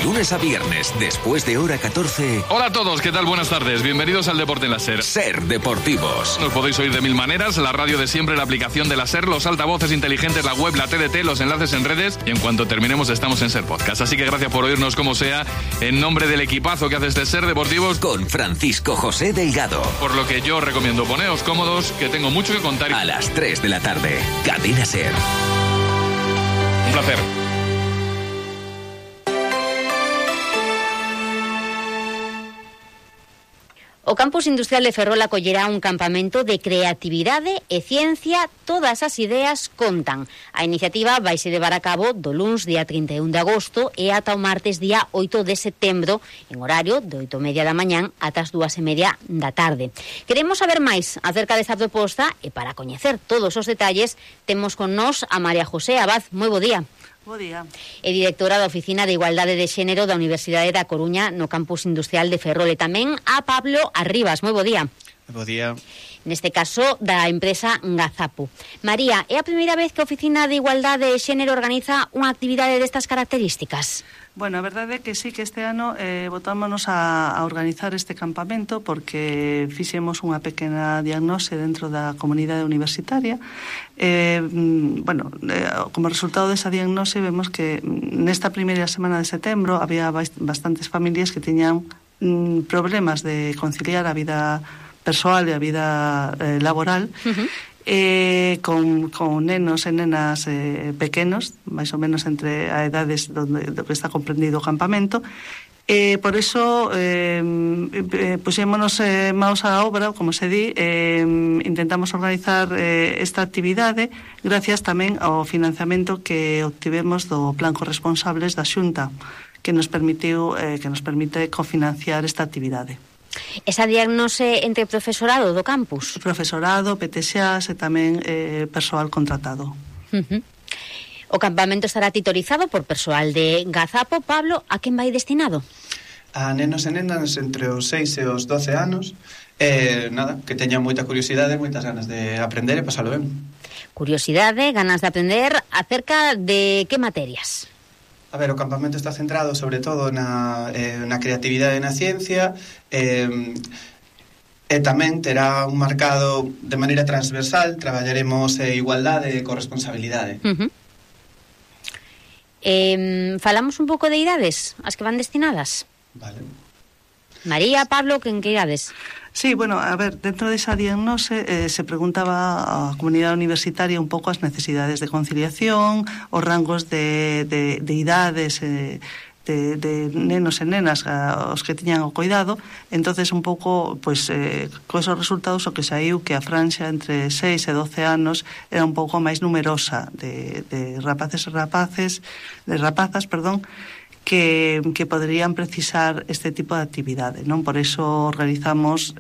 lunes a viernes, después de hora 14. Hola a todos, ¿qué tal? Buenas tardes. Bienvenidos al Deporte en la SER. SER Deportivos. Nos podéis oír de mil maneras, la radio de siempre, la aplicación de la SER, los altavoces inteligentes, la web, la TDT, los enlaces en redes, y en cuanto terminemos estamos en SER Podcast. Así que gracias por oírnos como sea, en nombre del equipazo que hace este SER Deportivos, con Francisco José Delgado. Por lo que yo recomiendo poneos cómodos, que tengo mucho que contar. A las 3 de la tarde, Cadena SER. Un placer. O Campus Industrial de Ferrol acollerá un campamento de creatividade e ciencia. Todas as ideas contan. A iniciativa vaise levar a cabo do luns día 31 de agosto e ata o martes día 8 de setembro, en horario de 8:30 da mañán ata as 2:30 da tarde. Queremos saber máis acerca desta proposta e para coñecer todos os detalles temos con nós a María José Abad. Moi bo día. Bo día. É directora da Oficina de Igualdade de Xénero da Universidade da Coruña no Campus Industrial de Ferrol, e tamén a Pablo Arribas. Moi bo día. Bo día. Neste caso, da empresa Gazapo. María, é a primeira vez que a Oficina de Igualdade de Xénero organiza unha actividade destas características? Bueno, a verdade é que sí, que este ano botámonos a organizar este campamento porque fixemos unha pequena diagnose dentro da comunidade universitaria. Como resultado desa diagnose vemos que nesta primeira semana de setembro había bastantes familias que tiñan problemas de conciliar a vida persoal e a vida laboral, con nenos e nenas pequenos, máis ou menos entre a edades do que está comprendido o campamento. Por iso puxémonos maos á obra, como se di, intentamos organizar esta actividade gracias tamén ao financiamento que obtivemos do Plan Corresponsables da Xunta, que nos permite cofinanciar esta actividade. Esa diagnose entre profesorado do campus? Profesorado, PTXAs e tamén persoal contratado. O campamento estará titorizado por persoal de Gazapo. Pablo, a quen vai destinado? A nenos e nenas entre os 6 e os 12 anos, que teñan moita curiosidade, moitas ganas de aprender e pasalo ben. Curiosidade, ganas de aprender, acerca de que materias? A ver, o campamento está centrado sobre todo na creatividade e na ciencia, e tamén terá un marcado de maneira transversal. Traballaremos igualdade e corresponsabilidade. Falamos un pouco de idades, as que van destinadas. Vale. María, Pablo, que en que idades? Sí, bueno, a ver, dentro desa diagnose se preguntaba a comunidade universitaria un pouco as necesidades de conciliación, os rangos de idades de nenos e nenas os que tiñan o cuidado. Entonces un pouco, pois, con esos resultados o que saiu que a franxa entre 6 e 12 anos era un pouco máis numerosa de rapazas, que poderían precisar este tipo de actividade, non? Por iso organizamos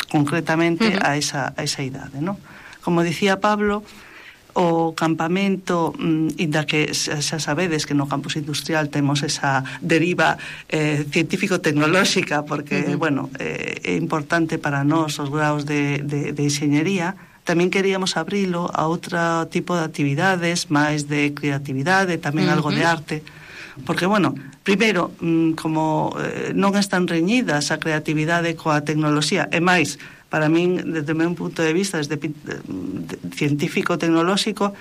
concretamente a esa idade, non? Como dicía Pablo, o campamento, inda que xa sabedes que no campus industrial temos esa deriva científico-tecnolóxica, porque, é importante para nós os graus de enxeñería, tamén queríamos abrilo a outro tipo de actividades, máis de creatividade, tamén algo de arte. Porque, primeiro, como non están reñidas a creatividade coa tecnoloxía, e máis, para min, desde o meu punto de vista, desde científico-tecnolóxico,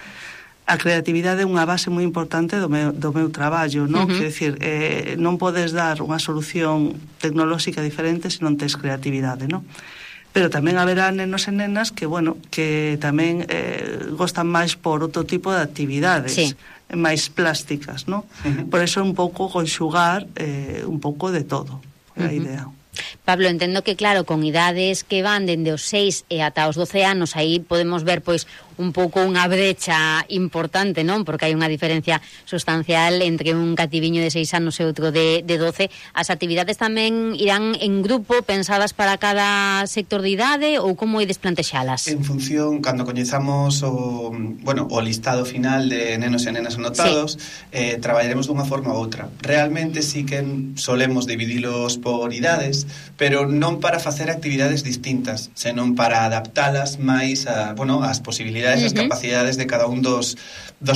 a creatividade é unha base moi importante do meu traballo, non? Quer dicir, non podes dar unha solución tecnolóxica diferente se non tes creatividade, non? Pero tamén haberá nenos e nenas que tamén gostan máis por outro tipo de actividades. Sí. Máis plásticas, non? Por eso un pouco conxugar un pouco de todo, a idea. Pablo, entendo que, claro, con idades que van dende os 6 e ata os 12 anos, aí podemos ver, pois, un pouco unha brecha importante, non? Porque hai unha diferencia sustancial entre un cativiño de 6 anos e outro de 12. As actividades tamén irán en grupo, pensadas para cada sector de idade, ou como ides plantexalas? En función, cando coñezamos o listado final de nenos e nenas anotados, traballaremos dunha forma ou outra. Realmente sí que solemos dividilos por idades, pero non para facer actividades distintas, senón para adaptalas máis ás posibilidades habilidades e as capacidades de cada un dos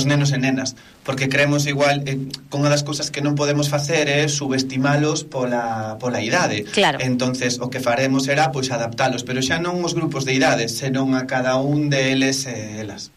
nenos e nenas, porque creemos igual con unha das cousas que non podemos facer é subestimalos pola idade. Claro. Entonces o que faremos será pois adaptalos, pero xa non os grupos de idades, senón a cada un deles e elas.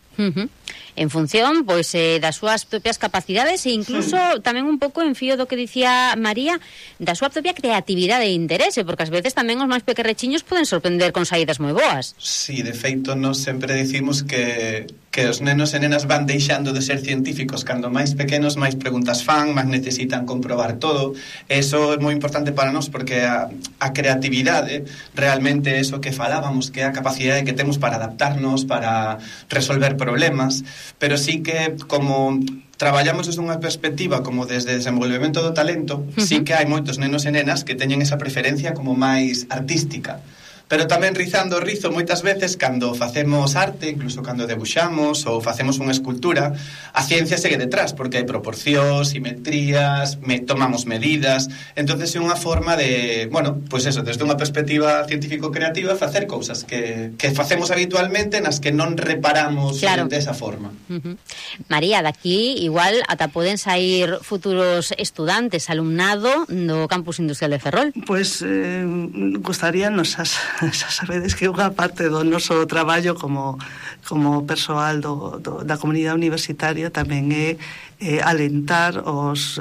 En función, pois, das súas propias capacidades e incluso tamén un pouco en fío do que dicía María, da súa propia creatividade e interese, porque ás veces tamén os máis pequerrechiños poden sorprender con saídas moi boas. Sí, de feito, nós sempre dicimos que os nenos e nenas van deixando de ser científicos cando máis pequenos, máis preguntas fan, máis necesitan comprobar todo. Eso é moi importante para nós porque a creatividade realmente é eso que falábamos, que é a capacidade que temos para adaptarnos, para resolver problemas, pero sí que como traballamos desde unha perspectiva como desde desenvolvemento do talento, sí que hai moitos nenos e nenas que teñen esa preferencia como máis artística. Pero tamén rizando o rizo moitas veces cando facemos arte, incluso cando debuxamos ou facemos unha escultura, a ciencia segue detrás porque hai proporcións, simetrías, tomamos medidas, entonces é unha forma de, bueno, pois eso, desde unha perspectiva científico-creativa facer cousas que facemos habitualmente nas que non reparamos desa forma. María, daqui igual ata poden sair futuros estudantes, alumnado do Campus Industrial de Ferrol. Pois gustaríanos xa sabedes que unha parte do noso traballo como persoal da comunidade universitaria tamén é alentar os